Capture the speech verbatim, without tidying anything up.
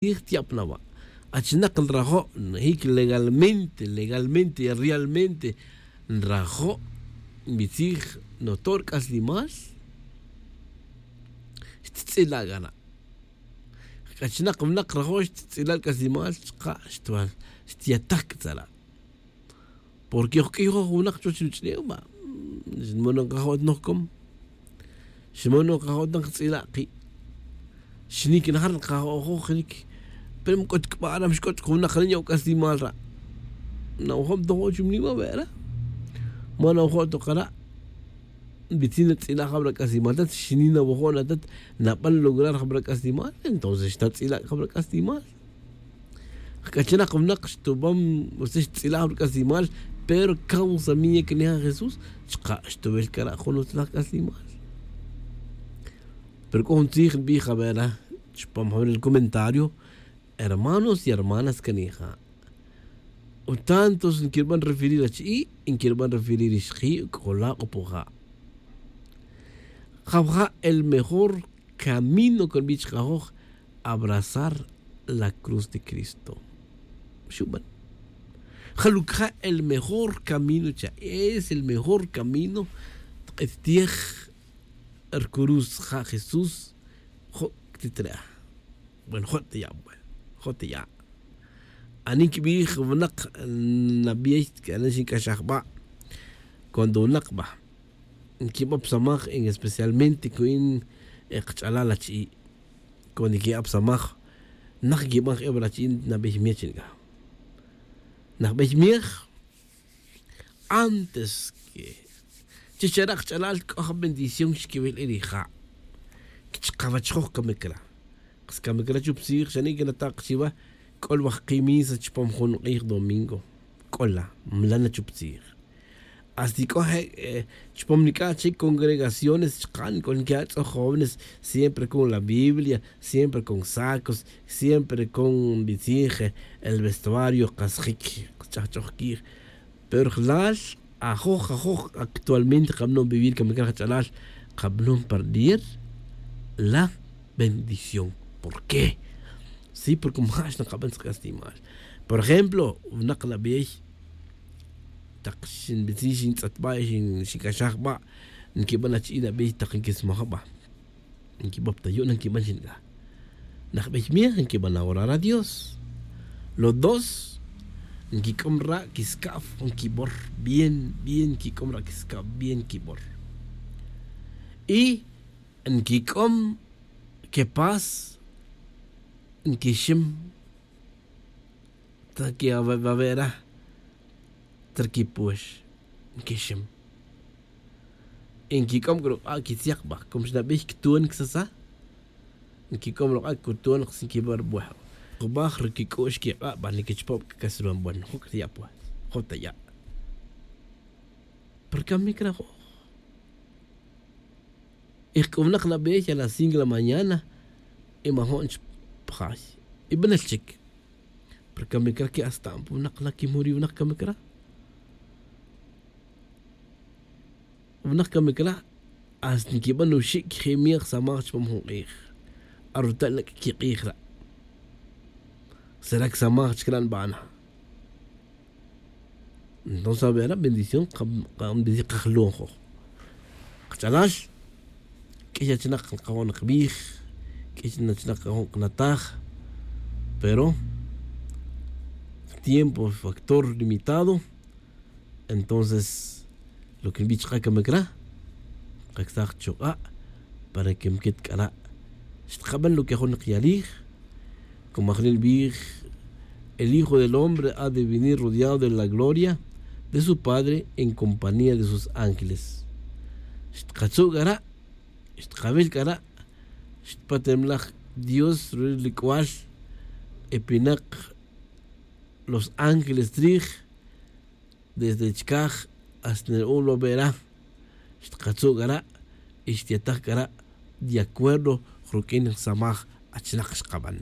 tzij tiya'p na wa'. Achinak nrajo' njic legalmente legalmente y realmente nrajo' nbitzij noto' rc'aslimal. Xttz'ila' c'a na. Achinak winak rajo' xttz'ila' rc'aslimal chka' xtwal xtyataj c'a tzara'. Porque oj q'uiy joj winak chuwech ruch'ulem ba xnmonon kajo' ta nojcom. Xnmonon kajo' ta nkatz'ila' ki'. Xnic najar nkajo' joj jinic. Pero mc'ut c'a ba aram xc'ut c'a winak re nya'o c'aslimal ra'. Nawajom ta joj chuminim awe' ra'. Ma nawajom ta kara'. Nbitzin natz'ila' jab ra c'aslimal tat xni nawajom na tat naban lograr jab ra c'aslimal entonces xtatz'ila' jab ra c'aslimal. Jc'achanak winak xtubam utzil xtz'ilaj rc'aslimal. Pero causa miya cani ja jesús chka' xtuwil cara' jun utzilaj c'aslimal. Pero c'o jun tzij nbij awe' ra chupam jun el comentario. Hermanos y hermanas cani ja' utantos nquirban referir achi'i' nquirban referir ixji' c'ola' c'o pu ja'. Jab ja' el mejor camino can bich kajoj abrazar la cruz de cristo. Xuban jaluc ja' el mejor camino cha es el mejor camino. Tk'et tiej rcruz ja' jesús. Jo' ctitre'a. Bueno jo' teya' bueno jo' teya'. Ani nquibij winak nabey cana xinc'axaj ba. Cuando winak ba nquiba psamaj en especialmente cu'in kach'alal achi'i'. Cuando nquiba psamaj nak nquiban jebra achi'i' nabey miej chin c'a. Nak bey miej antes que chi xera' kach'alal c'o ja bendición xquiwil e rija'. Chkawech joj camic ra. Kas camic ra chup tzij xani' que natak chiwa. C'o la waj ki misa chupam jun k'ij domingo. C'o la mla na chup tzij. Hasta c'o je' chupam nic'a' che congregaciones chka' nic'o niquiya' tz'o jóvenes siempre con la biblia siempre con sacos siempre con bitzij el vestuario kas jic kch'ajch'oj quij. Pero jlal ajoj ajoj actualmente kabanon vivir camic ra jach'alal kabanon perder la bendición. Por qué? Sí porque maja' xnakaban tzk'aslimal. Por ejemplo winak nabey tak xinbitzin xintz'atba' xinc'axaj ba nquiban achi'i' nabey tak nquismaj ba. Nquibop ta yu' na nquiban xinc'a. Najbey miej nquiban adorar a dios. Los dos nquic'om ra' quiscab nquibor bien bien nquic'om ra' quiscab bien nquibor. Y nquic'om quepas nquixim ta que awe' ra ta rquipuex nquixim. Y nquic'om c'a ruk'a' quitzyak ba como xnabey cton quitzatza. Nquic'om ruk'a' cton kas nquiba rubuej. Jubaj ruquic'u'x quik'a' ba niquichupab c'a cas ruban bueno jun c'a taya' pues jun taya'. Pero camic ra joj. Y jc'uwnak nabey a las cinco de la mañana y majo'n chpajay y banel chic. Pero camic ra que hasta a'an pu winak la quimuri winak camic ra. Winak camic ra hasta nquiban uxi' quiji' miej samaj chupam jun k'ij. Aruta' na q'ui quik'ij ra'. Sera csamaj chic ra' nbana. Entonces awe' ra' bendición. Kajlon joj kach'alal. Q'uiy achinak kajo' nakbij. Q'uiy achinak kajo' kanataj. Pero tiempo factor limitado. Entonces lo que nbij chka' camic ra' kacsaj chuk'a' para que mquet c'a ra'. Xtkaban lo que jun kiyalij. Como ajni nbij el hijo del hombre ha de venir rodeado de la gloria de su padre en compañía de sus ángeles. Xtkatzu' c'a ra'. Xtkawil c'a ra'. Xtpatemlaj dios ruwil ri c'ual. E pinak los ángeles trij desde chicaj hasta nel un lo vera. Xtkatzu' c'a ra' y xtyataj c'a ra' de acuerdo ruq'uin nsamaj. Achinak xkaban